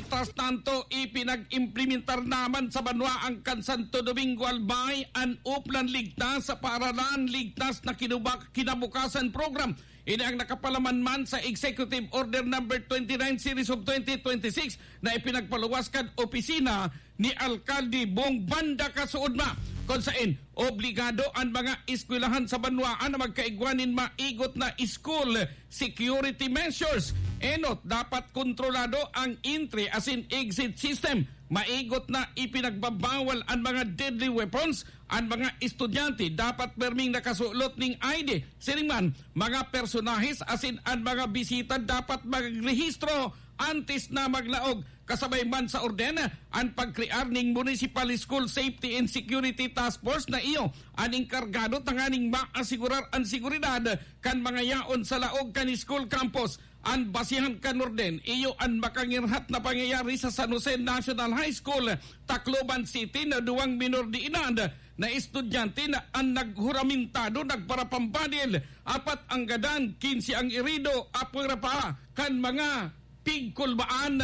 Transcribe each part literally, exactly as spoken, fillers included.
Mientras tanto, ipinag-implementar naman sa banwaan kan Santo Domingo Albay an Uplan Ligtas sa Paaralan Ligtas na Kinubak-, Kinabukasan Program. Ini ang nakapalaman man sa Executive Order Number twenty-nine Series of twenty twenty-six na ipinagpaluwas kan opisina ni Alkalde Bong Banda Kasuodma, kun saen obligado an mga eskwelahan sa banwaan na magkaigwa nin maigot na school security measures. Enot, dapat kontrolado ang entry asin exit system. Maigot na ipinagbabawal an mga deadly weapons. An mga estudyante dapat perming nakasulot ning I D. Siring man, mga personahes asin an mga bisita dapat magrehistro antes na maglaog. Kasabay man sa orden, an pagkrear ning Municipal School Safety and Security Task Force na iyo an engkargado tanganing maasigurar an seguridad kan mga yaon sa laog kan school campus. An basehan kan orden, iyo an makangirhat na pangyayari sa San Jose National High School, Tacloban City, na duwang minor de edad na estudyante na an naghuramentado nagparapambadil, apat ang gadan, kinse ang irido, apwera pa kan mga pigkulbaan.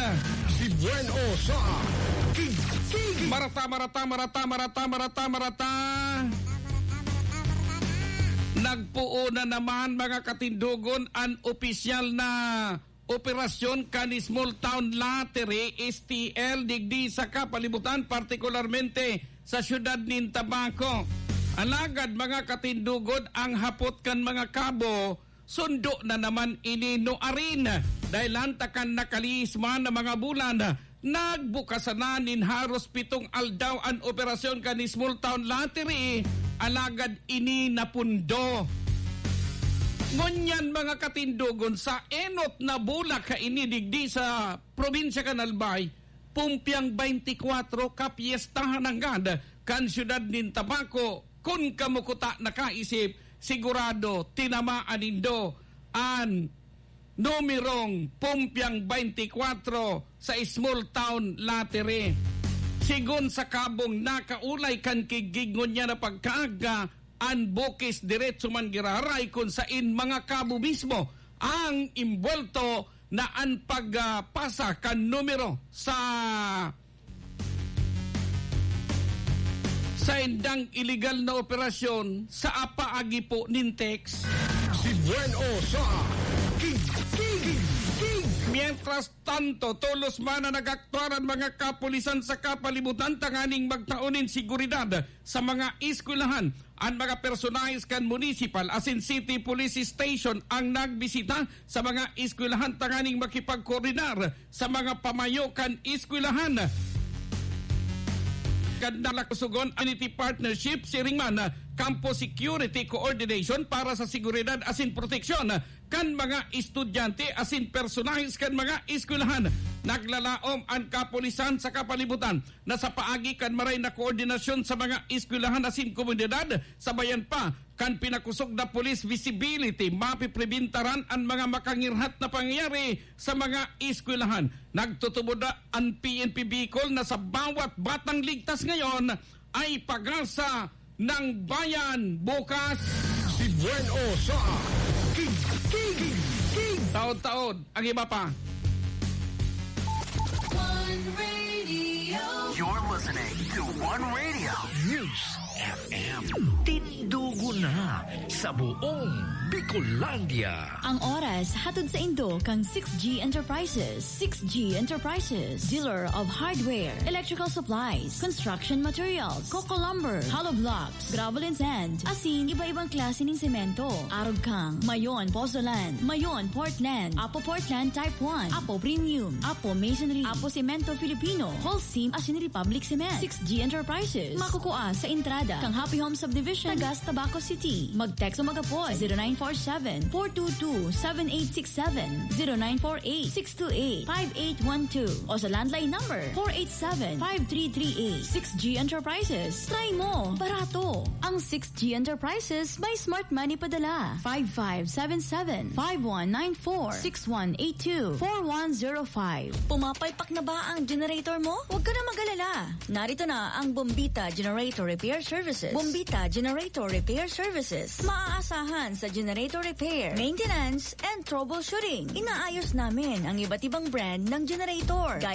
Si Buen O sa Kig-, Kig-, Marata, marata, marata, marata, marata, marata. Nagpoon na naman, mga katindogon, an opisyal na operasyon kan Small Town Lottery, S T L, digdi sa kapalibutan, partikularmente sa siyudad nin Tabaco. Alagad, mga katindogon, ang hapot kan mga kabo, sundo na naman ini nuarin. Dahelan ta kan nakalihis man na mga bulan, nagbukasan na nin haros pitong aldaw an operasyon kan Small Town Lottery, alagad ini napundo. Ngunyan, mga katindogon, sa enot na bulak kaini digdi sa probinsya kan Albay, Pumpiang twenty-four, kapyestahan nanggad kan siyudad nin Tabaco. Kun kamo kuta nakaisip, sigurado tinamaan nindo an numerong Pumpiang twenty-four sa Small Town Lottery. Sigon sa kabong nakaulay kan Kig-Kig ngunyan na pagkaaga, an bukis diretso man giraray kun sain mga kabo mismo ang imbwelto na an pagpasa kan numero sa saindang iligal na operasyon sa paagi po nin text. Si Buen O sa Kig-, Kig-, Kig-. Mientras tanto, tolos man na nag-aktuar an mga kapulisan sa kapalibutan tanganing magtao nin seguridad sa mga eskwelahan. An mga personahes kan municipal asin city police station ang nagbisita sa mga eskwelahan tanganing makipagkoordinar sa mga pamayo kan eskwelahan. Kan nalakusogon an iti partnership siring man, ah, Campus Security Coordination para sa seguridad asin proteksyon kan mga estudyante asin personahes kan mga eskwelahan. Naglalaom an kapulisan sa kapalibutan na sa paagi kan maray na koordinasyon sa mga eskwelahan asin komunidad, sabayan pa kan pinakosog na police visibility, mapipribintaran an mga makangirhat na pangyayari sa mga eskwelahan. Nagtutubod na an P N P Bicol na sa bawat batang ligtas ngayon ay pag-asa ng bayan bukas. Si Buen O sa Kig-, Kig-, Kig-. Taon-taon, ang iba pa. One Radio. You're listening to One Radio. News F M. Tindugo na sa buong Bicolandia. Ang oras hatod saindo kan six G Enterprises. Six G Enterprises, dealer of hardware, electrical supplies, construction materials, coco lumber, hollow blocks, gravel and sand, asin iba-ibang klase nin semento. Arog kang Mayon Pozzolan, Mayon Portland, Apo Portland Type one, Apo Premium, Apo Masonry, Apo Semento Filipino, Holcim asin Republic Cement. Six G Enterprises, makukua sa entrada kan Happy Home Subdivision, Tagas, Tabaco City. Mag-text o mag-apod, zero nine four seven, four two two, seven eight six seven, zero nine four eight, six two eight, five eight one two, o sa landline number, four eight seven, five three three eight. Six G Enterprises. Try mo! Barato! Ang Six G Enterprises may Smart Money Padala. Five five seven seven, five one nine four, six one eight two, four one zero five. Pumapalpak na ba ang generator mo? Huwag ka na mag-alala. Narito na ang Bombita Generator Repair Services. Bombita Generator Repair Services. Maaasahan sa generator repair, maintenance, and troubleshooting. Inaayos namin ang iba't ibang brand ng generator, gaya